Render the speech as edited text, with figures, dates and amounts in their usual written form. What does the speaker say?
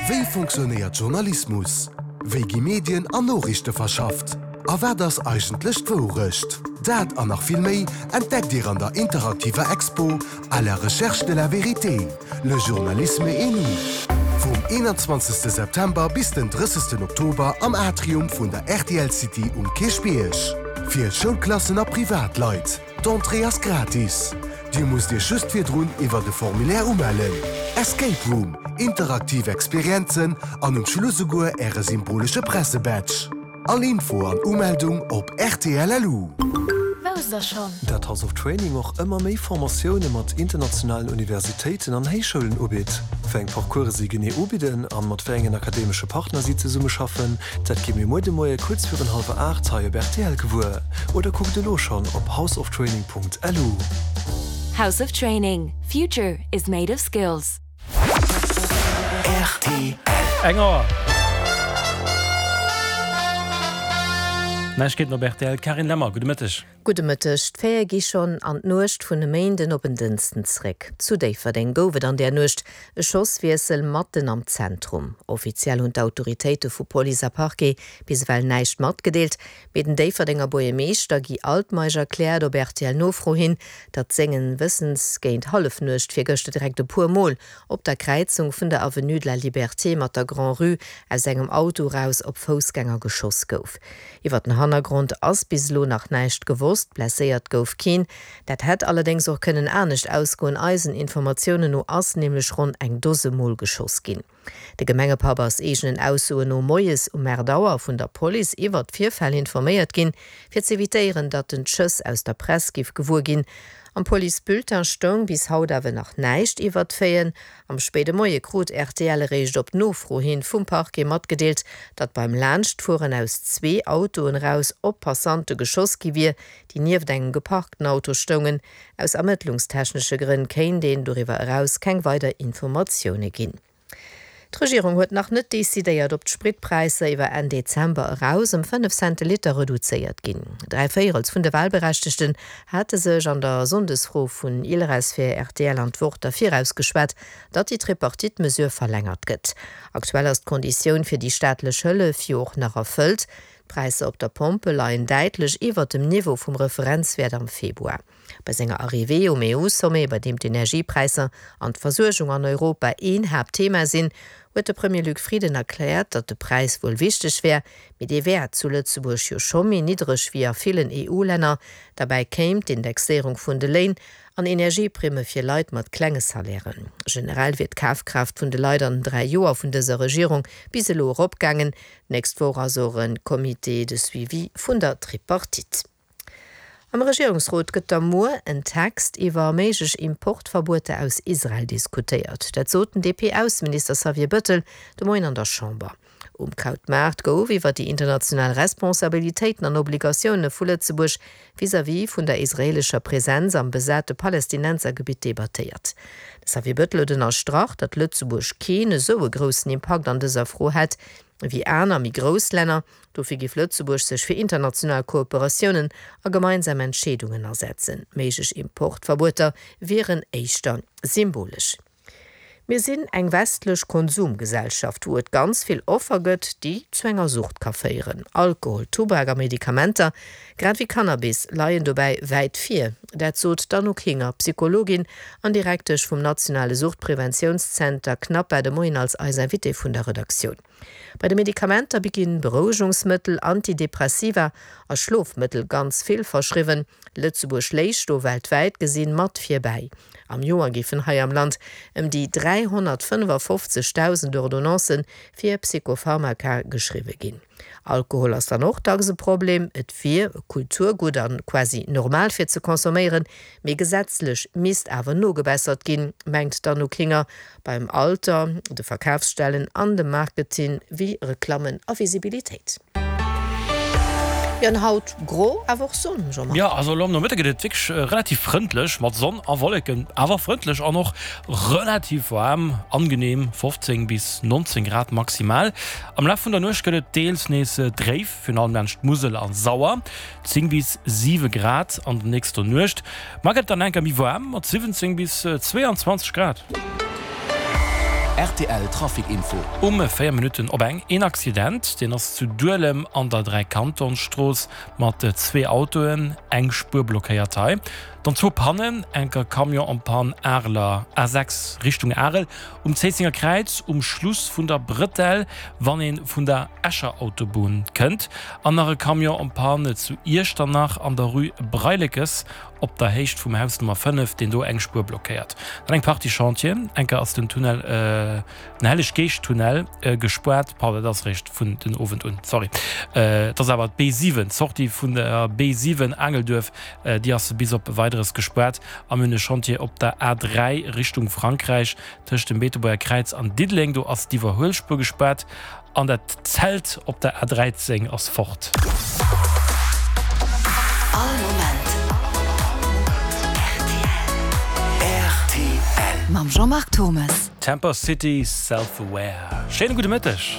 Wéi fonctionnéiert Journalismus? Wéi gi Medien an Noriichte verschafft? A wat ass eigentlech d'Wourecht? Dat an nach vill méi entdeckt Dir an der interaktiver Expo À la recherche de la vérité, le journalisme et nous vum 21 September bis den 30 Oktober am Atrium vun der rtl City um Kierchbierg. Fir Schoulklassen a Privatleit. D'Entrée ass gratis. Dir musst Iech just virdrun iwwert e Formulaire umellen. Escape Room, interaktiv Experienzen an um Schluss esouguer Äre symbolesche Pressebadge. All Info an Umeldung op rtl.lu. Wousst der schonn? Dat House of Training och ëmmer méi Formatioune mat internationalen Universitéiten an Héichschoulen ubitt. Wéi eng Parcourse si genee ubidden an mat wéi engen akademesche Partner si zesummeschaffen, dat gi mir muer de Moie kuerz virun hallwer 8 hei op rtl gewuer. Oder kuckt elo schonn op houseoftraining.lu. House of Training, Future is made of skills. Rtl. Eng Auer. Neiegkeeten op rtl, Carine Lemmer, gudde Mëtteg. Gudde Mëtteg. D'Faite gi schonn an d'Nuecht vun e Méinden op en Dënsten zréck. Zu Déifferdeng gouf et an där Nuecht e Schosswiessel matten am Zentrum. Offiziell hunn d'Autoritéite vu Police a Parquet bis ewell näischt matgedeelt. Mee den Déifferdenger Buergermeeschter Guy Altmeisch erkläert op RTL-Nofro hin, datt sengen Wëssens géint Hallefnuecht virgëschter direkt e puer Mol op der Kräizung vun der Avenue de la Liberté mat der Grand-Rue aus engem Auto eraus op Foussgänger geschoss gouf. Iwwer den Hannergrond ass bis elo nach näischt gewosst, blesséiert gouf keen. Dat hätt allerdéngs och kënnen anescht ausgoen, eisen Informatiounen no ass nämlech ronn eng Dose Mol geschoss ginn. De Gemengepapp ass eegenen Aussoen no moies um 8 Auer vun der Police iwwert d'Virfäll informéiert ginn, fir z'evitéieren, datt en d'Schëss aus der Press giff gewuer ginn. Am Police-Bulletin stoung bis haut awer nach näischt iwwert d'Faiten. Am spéide Moie krut rtl eréischt op Nofro hin vum Parquet matgedeelt, datt beim Laanschtfueren aus zwee Autoen eraus op Passante geschoss gi wier, déi nieft engem geparkten Auto stoungen. Aus ermëttlungstechnesche Grënn kéint een doriwwer eraus keng weider Informatioune ginn. D'Regierung huet nach net decidéiert, ob d'Spritpräisser iwwer Enn Dezember eraus ëm 5 Cent de Liter reduzéiert ginn. Dräi Véierels vun de Walberechtegten hate sech an der Sonndesfro vun Ilres fir rtl an d'Wort derfir ausgeschwat, datt déi Tripartite-Mesure verlängert gëtt. Aktuell ass d'Konditioun fir déi staatlech Hëllef jo och nach erfëllt. D'Präisser op der Pompe leien däitlech iwwert dem Niveau vum Referenzwäert am Februar. Bei senger Arrivée um EU-Sommet, bei deem d'Energiepräisser an d'Versuergung an Europa een Haaptthema sinn, huet de Premier Luc Frieden erkläert, datt de Präis wuel wichteg wär, mee dee wär zu Lëtzebuerg jo scho méi niddreg wéi a villen EU-Länner. Derbäi kéim d'Indexéierung vun de Léin an Energieprimme fir Leit mat klenge Salairen. Generell wier d'Kafkraaft vun de Leit an den 3 Joer vun dëser Regierung bis elo eropgaangen. D'nächst Woch ass och e Comité de suivi vun der Tripartite. Am Regierungsrot gëtt da muer en Text iwwer méiglech Importverbueter aus Israel diskutéiert. Dat sot den DP-Ausseminister Xavier Bëttel de Moien an der Chamber. Um Krautmaart gouf iwwer déi international Responsabilitéiten an Obligatioune vu Lëtzebuerg vis-à-vis vun der israeelescher Presenz am besate Palästinensergebitt debattéiert. De Xavier Bëttel huet ënnerstrach, datt Lëtzebuerg keen esou e groussen Impakt an dëser Fro hätt ewéi aner méi grouss Länner. Dofir géif Lëtzebuerg sech fir international Kooperatiounen a gemeinsam Entscheedungen asetzen. Méiglech Importverbueter wieren éischter symbolesch. Mir sinn eng westlech Konsumgesellschaft, wou et ganz vill Offer gëtt, déi zu enger Sucht ka féieren. Alkohol, Tubak a Medikamenter, grad ewéi Cannabis, leien dobäi wäit vir. Dat sot d'Anouk Hinger, Psychologin an Direktesch vum nationale Suchtpreventiounszenter CNAPA, de Moien als eis Invitée vun der Redaktioun. Bei de Medikamenter ginn Berouegungsmëttel, Antidepressiva a Schlofmëttel ganz vill verschriwwen. Lëtzebuerg léich do weltwäit gesinn mat virbäi. Am Joer géifen hei am Land ëm déi 355.000 Ordonnancë fir Psychopharmaka geschriwwe ginn. Alkohol ass dann och dacks e Problem. Et wier e Kulturgutt a quasi normal fir ze consomméieren, mee gesetzlech misst awer nogebessert ginn, mengt d'Anouk Hinger. Beim Alter, de Verkafsstellen an dem Marketing wéi Reklammen a Visibilitéit. Jo, an haut gro, awer och Sonn, Jean-Marc. Jo, also elo am Nomëtte gëtt et wierklech relativ frëndlech mat Sonn a Wolleken, awer frëndlech an och relativ waarm, angenehm 15 bis 19 Grad maximal. Am Laf vun der Nuecht gëtt et deels nees dréif, virun allem laanscht d'Musel an Sauer, 10 bis 7 Grad an der nächster Nuecht. Mar gëtt et dann enker méi waarm mat 17 bis 22 Grad. Rtl Trafic Info. Um 4 Minutten op eng een Accident, deen ass zu Duelem an der Dräikantonstrooss mat zwee Autoen, eng Spuer blockéiert hei. Dann zwou Pannen, enker Camion en panne Areler A6 Richtung Arel um Zéissenger Kräiz um Schluss vun der Brëtell, wann ee vun der Escher Autobunn kënnt, an nach e Camion en panne zu Iechternach an der Rue Breilekes op der Héicht vum Haus Nummer 5, deen do eng Spuer blockéiert. Dann eng Partie Chantieren, enker ass den Tunnel, den Helleg-Geescht-Tunnel gespaart, pardon, dat ass eréischt vun den Owend un, sorry, et ass awer d'B7, d'Sortie vun der B7 Aangelduerf, déi ass bis op Weideres gespaart. A mir hunn e Chantier op der A3 Richtung Frankräich tëscht dem Beetebuerger Kräiz an Diddeleng, do ass d'Iwwerhuelspuer gespaart. An dat Zelt op der A13 ass fort. All Moment rtl. Mam Jean-Marc Thommes. Tampa City, Self Aware. Schéine gudde Mëtteg.